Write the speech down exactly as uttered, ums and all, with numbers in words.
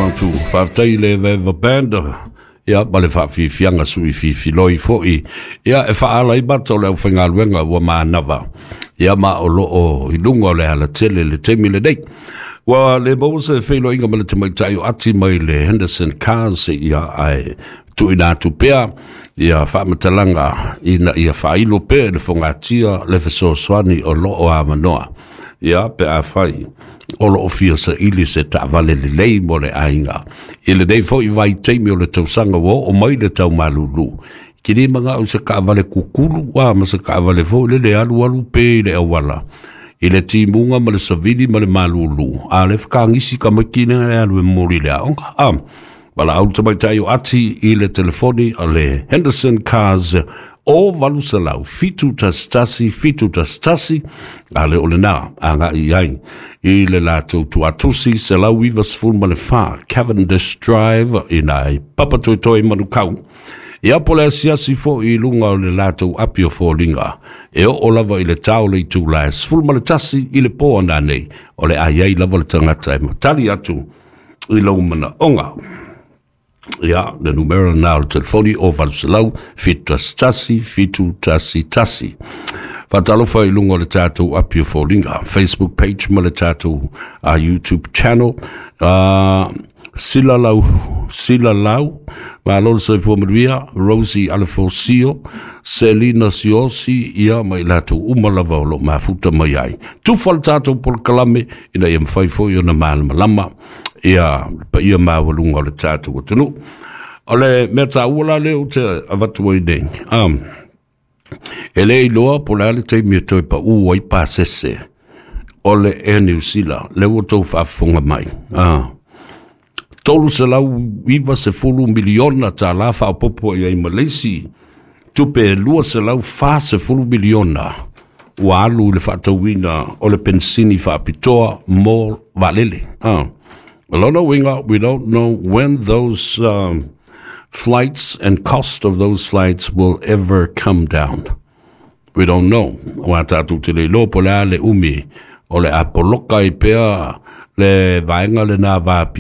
one, two. Faafetai i le Evaeva Band, ia, ma le faafiafiaga suifiifiloi foʻi, ia, e faaala ai mata o le aufaigaluega ua manava, ia, ma o loo i luga o le alatele le taimi lenei. Ua le maua se feiloaiga ma le tamaitai o Ati mai le Henderson Cars, ia, ae tuuina atu pea ia faamatalaga ina ia faailo pea i le fogatia le fesoasoani o loo avanoa, ia, pe afai o loo fia saili se taavale lelei mo le aiga i lenei foʻi vaitaimi o le tausaga ua oo mai le taumalūlū. Kili maga'u se taavale kukulu a ma se taavale foʻi le le alualu pe i le auala i le timuga ma le savili ma le malūlū a le fekagisi tamaiti le alu e momoli le aoga a valaau le tamaitai o Ati i le telefoni a le Henderson Cars o valu selau fitu tasi tasi fitu tasi tasi a le o lenā agai ai i le latou tuatusi selau iva sefulu ma le fa Cavendish Drive ina i Papatoetoe, Manukau. Ia, po le asiasi foʻi i luga o le latou api o foliga e oo lava i le tao le itula e sefulu ma le tasi i le po ananei o le aiai lava le tagata e matali atu i lou manaoga. Ia, le numera na o le telefoni o valu selau fitu tasi tasi fitu tasi tasi. Faatalofa i luga o le tatou api o foliga, Facebook page ma le tatou uh, YouTube channel. uh, sila lau sila lau, malo le soifua manuia. Rosie Alefosio, Selina Siosi, ia, ma i latou uma lava o loo mafuta mai ai tufa le tatou polokalame ina ia mafai foi ona malamalama ia paia maualuga o le tatou atunuu. O le mea taua la lea ou te avatu ai nei, um, e le iloa po le a le taimi e toe paū ai pasese o le Air New Zealand. Le ua tou faafofoga mai, ah. tolu selau iva sefulu miliona tālā faaopopo i ai ma le isi tupe e lua selau fa sefulu miliona ua alu i le faatauina o le pensini faapitoa mo vaalele. Ah. Lona uiga, we don't know when those um, flights and cost of those flights will ever come down. We don't know. Ua tatou te le iloa po le a le umi o le a poloka ai pea le vaega lenā.